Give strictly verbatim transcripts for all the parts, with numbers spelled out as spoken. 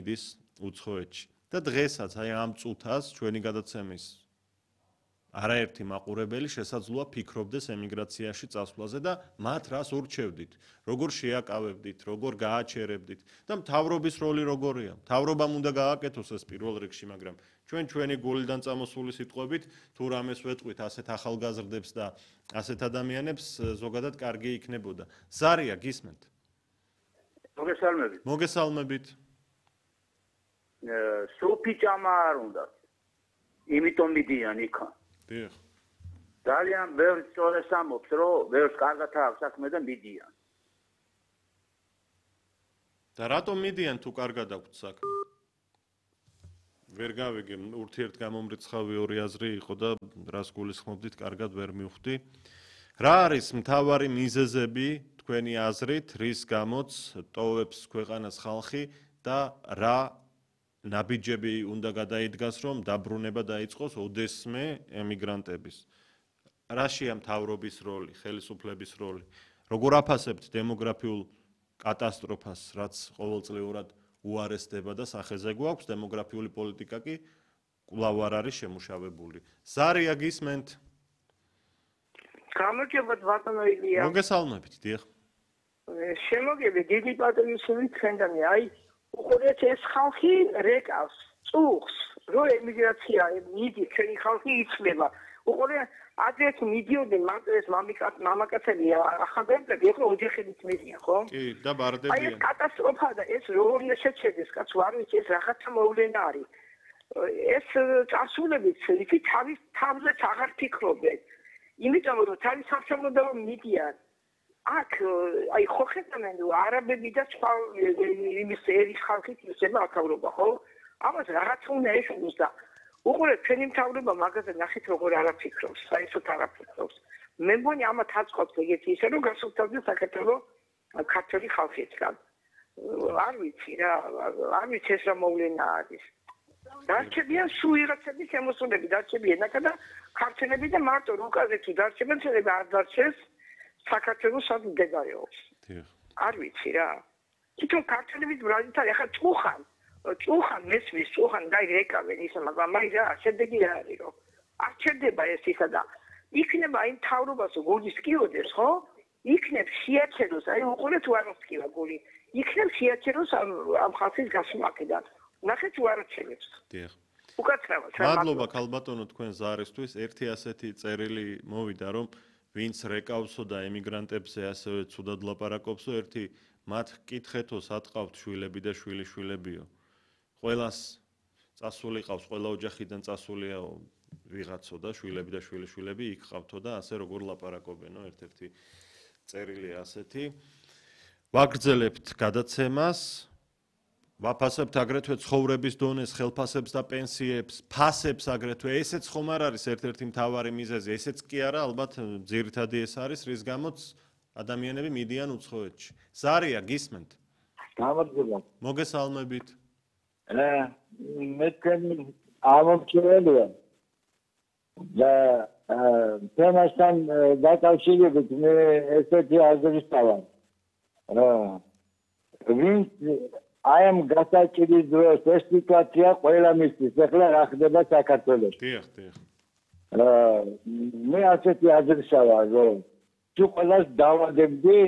მიდის უცხოეთში. და დღესაც აი ამ წუთას ჩვენი გადაცემის არაერთი მაყურებელი შესაძლოა ფიქრობდეს ემიგრაციაში წასვლაზე და მათ რას ურჩევდით, როგორ შეაკავებდით, როგორ გააჩერებდით და მთავრობის როლი როგორია. მთავრობამ უნდა გააკეთოს ეს პირველ რიგში, მაგრამ ჩვენ ჩვენი გულიდან წამოსული სიტყვებით თუ რამეს ვეტყვით ასეთ ახალგაზრდებს და ასეთ ადამიანებს ზოგადად კარგი იქნებოდა. ზარია გისმენთ? მოგესალმებით. მოგესალმებით. სოფი ჭამა არ უნდა. იმიტომ მიდიან იქა. დიახ. ძალიან ბევრი სწორეს ამბობს, რომ ბევრს კარგად აქვს საქმე და მიდიან. და რატომ მიდიან თუ კარგად აქვთ საქმე? ვერ გავიგე, ურთიერთგამომრიცხავი ორი აზრი იყო და რას გულისხმობდით, კარგად ვერ მივხვდი. რა არის მთავარი მიზეზები თქვენი აზრით, რის გამოც ტოვებს ქვეყანას ხალხი და რა ნაბიჯები უნდა გადაიდგას, რომ დაბრუნება დაიწყოს ოდესმე ემიგრანტების. რაშია მთავრობის როლი, ხელისუფლების როლი? როგორ აფასებთ დემოგრაფიულ კატასტროფას, რაც ყოველწლიურად უარესდება და სახეზე გვაქვს, დემოგრაფიული პოლიტიკა კი კვლავ არ არის შემუშავებული. ზარია გისმენთ? გამარჯობათ ბატონო ილია. მოგესალმებით, დიახ. შემოგები დიდი პატრიოტიზმი თქვენდანი, აი უყურეთ ეს ხალხი რეკავს, წუხს, რო ემიგრაცია მიდის, ჩვენი ხალხი იცლება. უყურეთ ადრეს მიდიოდნენ მამაკაც მამაკაცები ახალგაზრდები, ახლა ოჯახებით მიდიან, ხო? კი, და ბარდებიან. აი ეს კატასტროფა და ეს როგორ უნდა შეჩერდეს, კაცო, არ ვიცი, ეს რაღაცა მოვლენა არის. ეს წასულებით ისე თავის თავზე აღარ ფიქრობენ. იმიტომ რომ თავის სამშობლოდან მიდიან. აქ აი ხო ხედავენ რომ არაბები და სხვა იმის ერის ხალხი ისება აქავრობა, ხო? ამას რაღაც უნდა ეშუქოს და უყურეთ ჩვენი მთავრობა მაგაზე ნახეთ როგორ არაფიქრობს, საერთოდ არაფიქრობს. მე მგონი ამათ აწყობს ეგეთი ისე რომ გასუფთავდეს საქართველოს ქართული ხალხისგან. არ ვიცი რა, არ ვიცი ეს რა მოვლენა არის. დარჩებიან სულ ვიღაცების შემოსულები, დარჩებიან აქ და ქართველები და მარტო რუკაზე თუ დარჩებენ, შეიძლება არ დარჩეს საქართველოს სად მდებარეობს. არ ვიცი რა. თვითონ ქართველების ბრალითად ახლა წუხან, წუხან მესმის, წუხან გაიგეკავენ ისე, მაგრამ აი რა, შედეგი რა არის რომ არ ჩერდება ეს ისა და იქნება აი მთავრობას გულის კიოდეს, ხო? იქნებ შეაჩეროს, აი უყურეთ თუ არ მოსკივა გული. იქნებ შეაჩეროს ამ ხალხის გასვლაკიდან. ნახეთ თუ არ ჩერებს. დიახ. უკაცრავად. მადლობა ქალბატონო თქვენ ზარისთვის. ერთი ასეთი წერილი მოვიდა რომ ვინც რეკავსო და ემიგრანტებზე ასევე ცუდად ლაპარაკობსო, ერთი მათ კითხეთო სატყავთ შვილები და შვილიშვილებიო. ყველას წასული ყავს, ყველა ოჯახიდან წასულიაო ვიღაცო და შვილები და შვილიშვილები იქ ყავთო და ასე როგორ ლაპარაკობენო, ერთ-ერთი წერილი ასეთი. ვაგრძელებთ გადაცემას. ვაფასებთ აგრეთვე ცხოვრების დონეს, ხელფასებს და პენსიებს, ფასებს აგრეთვე. ესეც ხომ არ არის ერთ-ერთი მთავარი მიზეზი, ესეც კი არა, ალბათ ძირითადი ეს არის, რის გამოც ადამიანები მიდიან უცხოეთში. ზარია გისმენთ? გამარჯობა. მოგესალმებით. მე თქვენი ამომრჩეველია და თემასთან დაკავშირებით მე ესეთი აზრის ვსწავლობ. რა ვინც I am გასაჭირის დროს ეს სიტუაცია ყველა მისთვის. ეხლა რა ხდება საქართველოში? დიახ, დიახ. მე ასეთი აზრისა ვარ, რომ თუ ყველას დავადებდი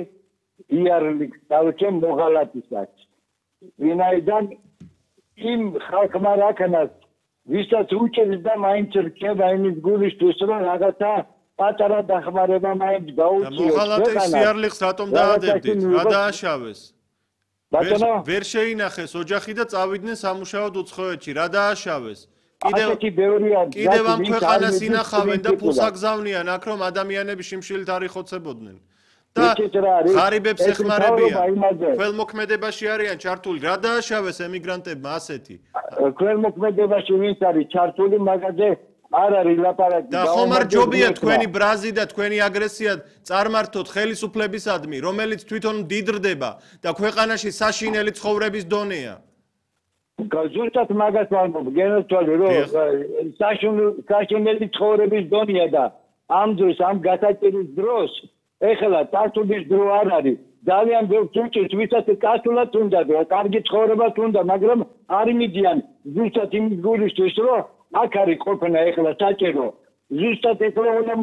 იარლიქს დავჭემ მოღალატისაც. ვინაიდან იმ ხალხმა რაკანას ვისაც უჭერს და მაინც რჩება იმის გულისთვის, რომ რაღაცა პატარა დახმარება მაინც გაუწიოს. და მოღალატის იარლიქს რატომ დაადებდით? რა დააშავეს? ვერ შეინახეს ოჯახი და წავიდნენ სამუშაოდ უცხოეთში. რა დააშავეს? კიდევ კიდევ ამ ქვეყანას ინახავენ და ფულს აგზავნიან აქ რომ ადამიანები შიმშილით არ იხოცებოდნენ. და ღარიბებს ეხმარებიან. ქველმოქმედებაში არიან ჩართული. რა დააშავეს ემიგრანტებმა ასეთი? ქველმოქმედებაში ვინც არის ჩართული მაგაზე არ არის ლაპარაკი. და ხომ არ ჯობია თქვენი ბრაზი და თქვენი აგრესია წარმართოთ ხელისუფლებისადმი, რომელიც თვითონ დიდრდება და ქვეყანაში საშინელი ცხოვრების დონეა. ზუსტად მაგას ვამბობ, გენოთვალე რომ საშინელი ცხოვრების დონეა და ამ დროს ამ გასაჭირის დროს ეხლა წასვლის დრო არ არის. ძალიან ბევრს უჭირს, ვისაც კაცულად უნდა და კარგი ცხოვრება უნდა, მაგრამ არ მიდიან ზუსტად იმ გულისთვის, რომ აქ არის ყოფნა ეხლა საჭირო. ზუსტად ეხლა უნდა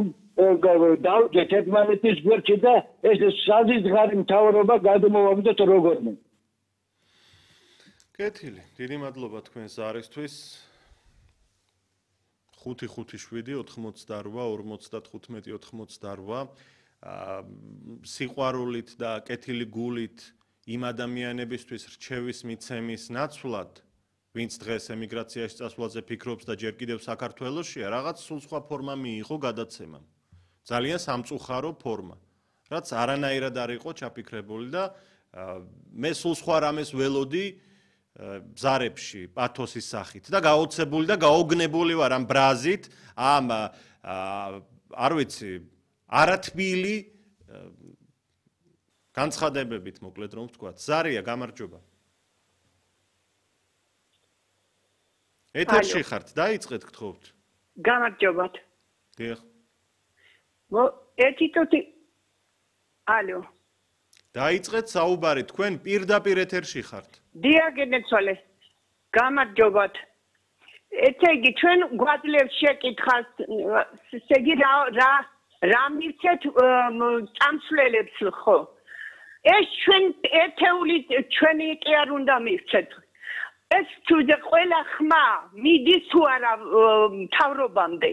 დავუჯეთ ერთმანეთის გვერდში და ეს საზღვარი მთავრობა გადმოვაგდოთ როგორმე. კეთილი, დიდი მადლობა თქვენს ზარისთვის. ხუთი ხუთი შვიდი ოთხმოცდარვა ორმოცდათხუთმეტი ოთხმოცდარვა სიყვარულით და კეთილი გულით იმ ადამიანებისთვის რჩევის მიცემის ნაცვლად, ვინც დღეს ემიგრაციაში წასვლაზე ფიქრობს და ჯერ კიდევ საქართველოშია, რაღაც სულ სხვა ფორმა მიიღო გადაცემამ. ძალიან სამწუხარო ფორმა, რაც არანაირად არ იყო ჩაფიქრებული და მე სულ სხვა რამეს ველოდი ზარებში პათოსის სახით და გაოცებული და გაოგნებული ვარ ამ ბრაზით, ამ არ ვიცი, არათბილი განცხადებებით, მოკლედ რომ ვთქვა. ზარია, გამარჯობა. ეთერში ხართ, დაიწყეთ გთხოვთ. გამარჯობათ. დიახ. მო ერთი თუთი ალო. დაიწყეთ საუბარი, თქვენ პირდაპირ ეთერში ხართ. დიაგენეცვალე. გამარჯობათ. ესე იგი ჩვენ გვაძლევს შეკითხას, ესე იგი რა რა რა მივცეთ წამსვლელებს ხო? ეს ჩვენ ერთეული ჩვენი კი არ უნდა მივცეთ. ეს თუნდაც ყველა ხმა მიდის თუ არა მთავრობამდე.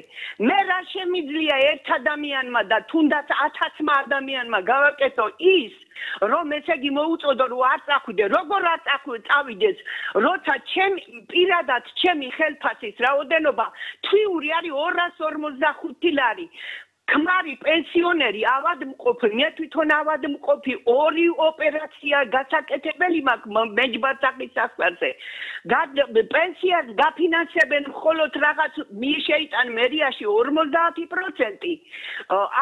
მე რა შემიძლია ერთ ადამიანმა და თუნდაც ათასმა ადამიანმა გავაკეთო ის, რომ ესე იგი მოუწოდო რომ არ წახვიდე, როგორ არ წავიდეს, როცა ჩემი პირადად ჩემი ხელფასის რაოდენობა თვიური არის ორას ორმოცდახუთი ლარი. ქმარი პენსიონერი ავადმყოფი, მე თვითონ ავადმყოფი, ორი ოპერაცია გასაკეთებელი მაქვს მეჯბარსახის საქმეზე. პენსიას გაფინანსებენ მხოლოდ რაღაც მიშეიტან მერიაში ორმოცდაათი პროცენტი.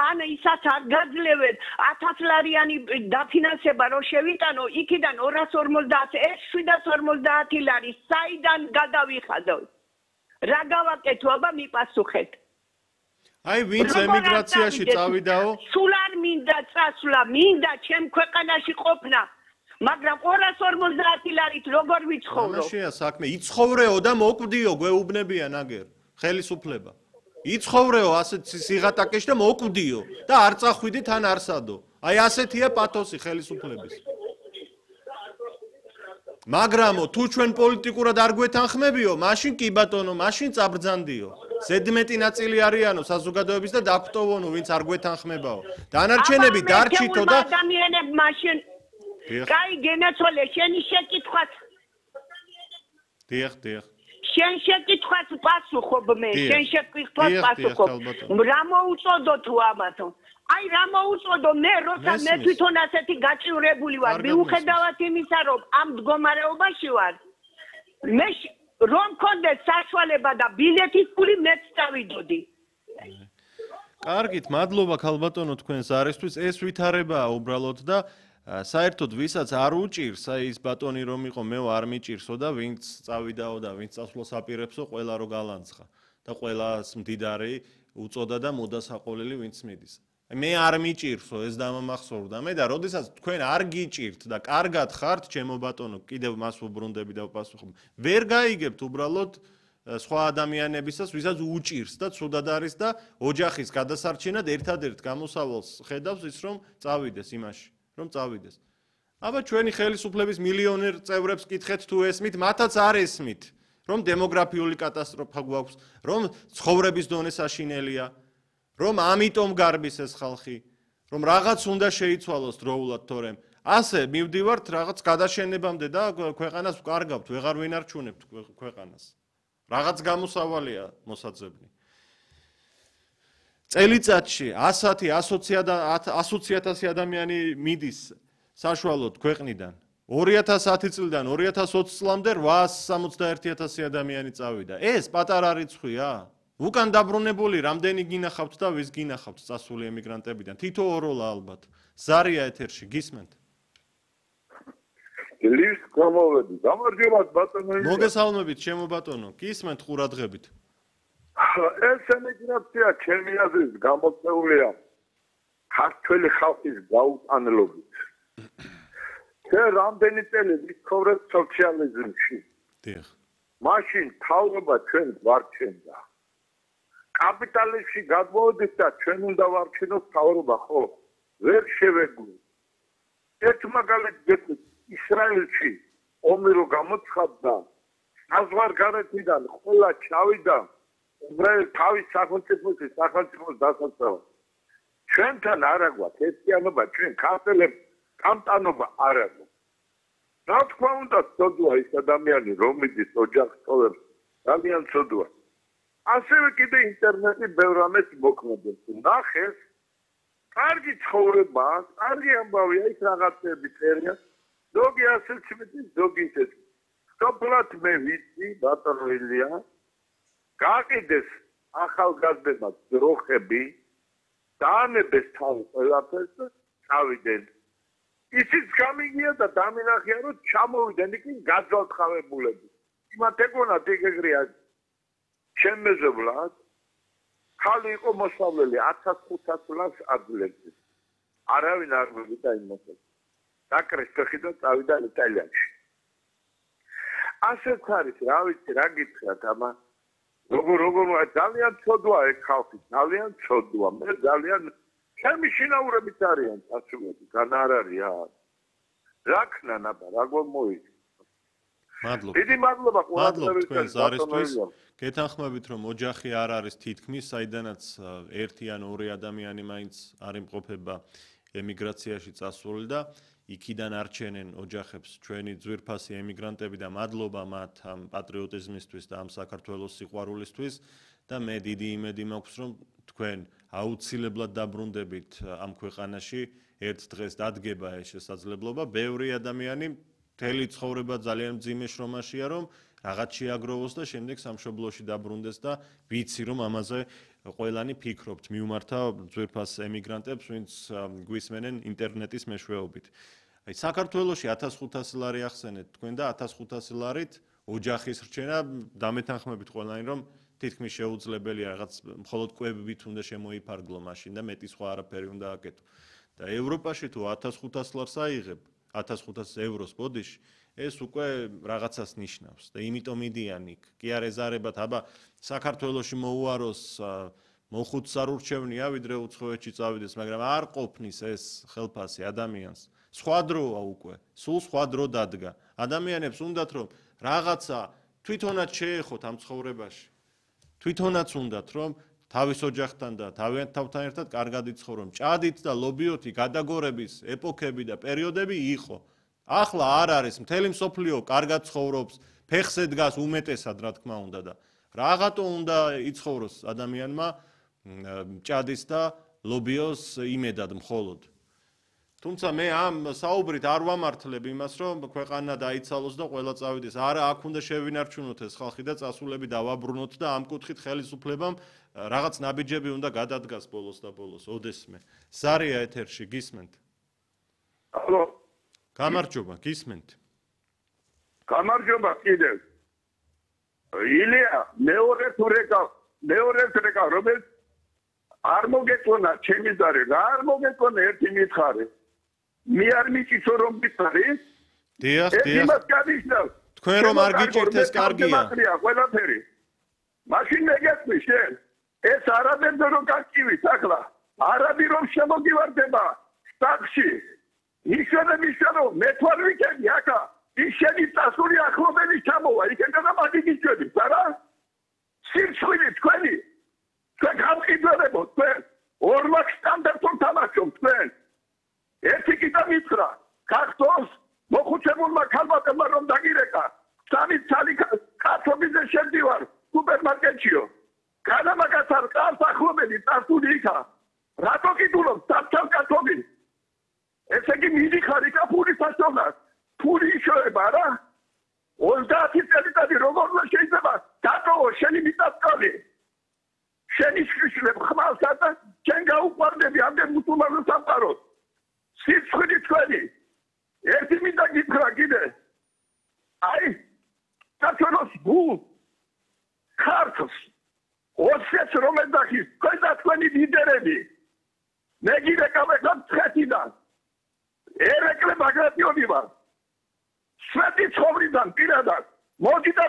ან ისაც არ გაძლევენ ათას ლარიანი დაფინანსება რო შევიტანო, იქიდან ორას ორმოცდაათი, ეს შვიდას ორმოცდაათი ლარი საიდან გადავიხადო? რა გავაკეთო, აბა მიპასუხეთ. აი ვინც ემიგრაციაში წავიდაო? სულ არ მინდა წასვლა, მინდა ჩემ ქვეყანაში ყოფნა, მაგრამ ორას ორმოცდაათი ლარით როგორ ვიცხოვრო? ამაშია საქმე, იცხოვრეო და მოკვდიო, გვეუბნებიან აგერ, ხელისუფლება. იცხოვრეო ასეთ სიღატაკეში და მოკვდიო და არ წახვიდე თან არსადო. აი ასეთია პათოსი ხელისუფლების. მაგრამო თუ ჩვენ პოლიტიკურად არ გვეთანხმებიო, მაშინ კი ბატონო, მაშინ წაბრძანდიო. ზედმეტი ნაწილი არიანო საზოგადოების და დაგვტოვონო, ვინც არ გვეთანხმებაო. დანარჩენები დარჩითო და ადამიანები მაშინ კაი გენაცვალე, შენი შეკითხვაც. დიახ, დიახ. შენ შეკითხვაც პასუხობ მე, შენ შეკითხვაც პასუხობ. რა მოუწოდო თუ ამათო? აი რა მოუწოდო მე, როცა მე თვითონ ასეთი გაჭირებული ვარ, მიუხედავად იმისა, რომ ამ მდგომარეობაში ვარ. მე რომ მქონდეს საშუალება და ბილეთის ფული მეც წავიდოდი. კარგით, მადლობა ქალბატონო თქვენ ზარისთვის. ეს ვითარებაა უბრალოდ და საერთოდ ვისაც არ უჭირს, აი ის ბატონი რომ იყო, მე არ მიჭირსო და ვინც წავიდაო და ვინც წასვლას აპირებსო, ყველა რო გალანცხა და ყველას მდიდარი უწოდა და მოდასაყოლელი ვინც მიდის. მე არ მიჭირსო, ეს დამამახსოვრდა მე და როდესაც თქვენ არ გიჭირთ და კარგად ხართ, ჩემო ბატონო, კიდევ მას უბრუნდები და ვპასუხობ. ვერ გაიგებთ უბრალოდ სხვა ადამიანებისას, ვისაც უჭირს და ცუდად არის და ოჯახის გადასარჩენად ერთადერთ გამოსავალს ხედავს ის, რომ წავიდეს იმაში, რომ წავიდეს. აბა ჩვენი ხელისუფლების მილიონერ წევრებს კითხეთ თუ ესმით, მათაც არ ესმით, რომ დემოგრაფიული კატასტროფა გვაქვს, რომ ცხოვრების დონე საშინელია. რომ ამიტომ გარბის ეს ხალხი, რომ რაღაც უნდა შეიცვალოს დროულად თორემ. ასე მივდივართ რაღაც გადაშენებამდე და ქვეყანას ვკარგავთ, ვეღარ ვინარჩუნებთ ქვეყანას. რაღაც გამოსავალია მოსაძებნი. წელიწადში ასათი ასოცი ათასი ადამიანი მიდის საშუალოდ ქვეყნიდან. ორი ათას ათი წლიდან ორი ათას ოცი წლამდე რვაას სამოცდაერთი ათასი ადამიანი წავიდა. ეს პატარა რიცხვია? უკან დაბრუნებული რამდენი გინახავთ და ვის გინახავთ წასული ემიგრანტებიდან? თითო ოროლა ალბათ. ზარია ეთერში, გისმენთ? ლის გამოვედი. გამარჯობათ ბატონო. მოგესალმებით, ჩემო ბატონო. გისმენთ ყურადღებით. ეს ემიგრაცია ჩემი აზრით გამოწეულია ქართველი ხალხის გაუტანლობით. შე რამდენი წელი ვიცხოვრობ სოციალიზმში. დიახ. მაშინ თავრობა ჩვენ ვარჩენდა. კაპიტალიზმში გადმოვიდით და ჩვენ უნდა ვარჩენოთ თავრობა, ხო? ვერ შევეგვი. ერთ მაგალითს გეტყვით, ისრაელში ომი რო გამოცხადდა, საზღვარგარეთიდან ყველა ჩავიდა უბრალოდ თავის სახელმწიფოში სახელმწიფოს დასაცავად. ჩვენთან არა გვაქვს ერთიანობა, ჩვენ ქართველებს კამპანობა არ აქვს. რა თქმა უნდა, ცოდვა ის ადამიანი, რომელიც ოჯახს ტოვებს, ძალიან ცოდვა. ასევე კიდე ინტერნეტი ბევრ რამეს მოქმედებს. ნახეს, კარგი ცხოვრება, კარგი ამბავია, ის რაღაცები წერია. ზოგი ასეც მეტი, ზოგი ისეთ. სოფლად მე ვიცი, ბატონო ილია, გაყიდეს ახალგაზრდებმა ძროხები, დაანებეს თავი ყველაფერს და წავიდნენ. ისიც გამიგია და დამინახია, რომ ჩამოვიდნენ იქ გაძალთხავებულები. იმათ ეგონათ ეგრეა შემეზობლად. ხალი იყო მოსავლელი ათას ხუთას ლარს აძლევდა. არავინ არ მოვიდა იმასაც. დაკრეს ფეხი და წავიდა იტალიაში. ასეც არის, რა ვიცი, რა გითხრათ, ამა როგორ როგორ ძალიან ცოდვა ეგ ხალხი, ძალიან ცოდვა. მე ძალიან ჩემი შინაურებით არიან წასულები, გან არ არის რა. რა ქნა ნაბა, რა გომოიქ. მადლობა. დიდი მადლობა მადლობა თქვენს არისთვის. გეთანხმებით, რომ ოჯახი არ არის თითქმის, საიდანაც ერთი ან ორი ადამიანი მაინც არ იმყოფება ემიგრაციაში წასული და იქიდან არჩენენ ოჯახებს ჩვენი ძვირფასი ემიგრანტები და მადლობა მათ ამ პატრიოტიზმისთვის და ამ საქართველოს სიყვარულისთვის და მე დიდი იმედი მაქვს, რომ თქვენ აუცილებლად დაბრუნდებით ამ ქვეყანაში, ერთ დღეს დადგება ეს შესაძლებლობა, ბევრი ადამიანი მთელი ცხოვრება ძალიან მძიმე შრომაშია, რომ რაღაც შეაგროვოს და შემდეგ სამშობლოში დაბრუნდეს და ვიცი, რომ ამაზე ყველანი ფიქრობთ, მიუმართა ძვირფას ემიგრანტებს, ვინც გვისმენენ ინტერნეტის მეშვეობით. აი საქართველოში ათას ხუთასი ლარი ახსენეთ თქვენ და ათას ხუთასი ლარით ოჯახის რჩენა დამეთანხმებით ყველანი, რომ თითქმის შეუძლებელია რაღაც მხოლოდ კვებებით უნდა შემოიფარგლო მაშინ და მეტი სხვა არაფერი უნდა აკეთო. და ევროპაში თუ ათას ხუთას ლარს აიღებ, ათას ხუთას ევროს ბოდიში, ეს უკვე რაღაცას ნიშნავს და იმიტომ მიდიან იქ. კი არ ეზარებათ, აბა საქართველოში მოუაროს მოხუც არ ურჩევნია, ვიდრე უცხოეთში წავიდეს, მაგრამ არ ყოფნის ეს ხელფასი ადამიანს. სხვა დროა უკვე, სულ სხვა დრო დადგა. ადამიანებს უნდათ რომ რაღაცა თვითონაც შეეხოთ ამ ცხოვრებაში. თვითონაც უნდათ რომ თავის ოჯახთან და თავიანთ თავთან ერთად კარგად იცხოვრონ. ჭადით და ლობიოთი გადაგორების ეპოქები და პერიოდები იყო. ახლა არ არის, მთელი მსოფლიო კარგად ცხოვრობს, ფეხზე დგას უმეტესად, რა თქმა უნდა და რაღაცა უნდა იცხოვროს ადამიანმა ჭადის და ლობიოს იმედად მხოლოდ. თუმცა მე ამ საუბრით არ ვამართლებ იმას, რომ ქვეყანა დაიცალოს და ყველა წავიდეს. არა, აქ უნდა შევინარჩუნოთ ეს ხალხი და წასულები დავაბრუნოთ და ამ კუთხით ხელისუფლებამ რაღაც ნაბიჯები უნდა გადადგას ბოლოს და ბოლოს. ოდესმე. ზარია ეთერში გისმენთ? ალო. გამარჯობა, გისმენთ? გამარჯობა კიდევ. ილია, მეორე თუ რეკა, მეორე რეკა, რომელიც არ მოგეწონა ჩემი ზარი, რა არ მოგეწონა ერთი მითხარი. მე არ მიწისო რომ მითხარი? დიახ, დიახ. იმას გადიშნავ. თქვენ რომ არ გიჭირთ ეს კარგია. ყველაფერი. მაშინ მეგეთქვი შენ. ეს არაბებზე რომ გაკივით ახლა. არაბი რომ შემოგივარდება სტახში. ისედაც ისედაც მე თუ არ ვიქენი ახლა. ის შენი წასული ახლობელი ჩამოვა. იქნება და მაგიგიჩვენით, არა? სირცხვილი თქვენი. თქვენ გამყიდველებო, თქვენ ორმაგ სტანდარტულ თამაშობთ თქვენ. ერთი კიდე მითხრა, ქართოს მოხუცებულმა ქალბატონმა რომ დაგირეკა, სამი ცალი კაცობიზე შევდივარ სუპერმარკეტშიო. განამაგაც არ ყავს ახლობელი წასული იქა. რატო კიდულობ სამცალ კაცობი? ესე იგი მიდიხარ იქა ფულის საშოვნად. ფული იშოება რა? ოცდაათი წელიწადი როგორ უნდა შეიძლება დატოვო შენი მიწა-წყალი? შენი შიშლებ ხმალსა და შენ გაუყვარდები ამდენ მუსულმანურ სამყაროს. სიცხილი თქვენი. ერთი მინდა გითხრა კიდე. აი, საქართველოს გულ ქართლს ოცდაათს რომ ეძახის, თქვენ და თქვენი ლიდერები. მე გირეკავ ეხლა მცხეთიდან. ერეკლე ბაგრატიონი ვარ. სვეტი ცხოვრიდან პირადად მოდი და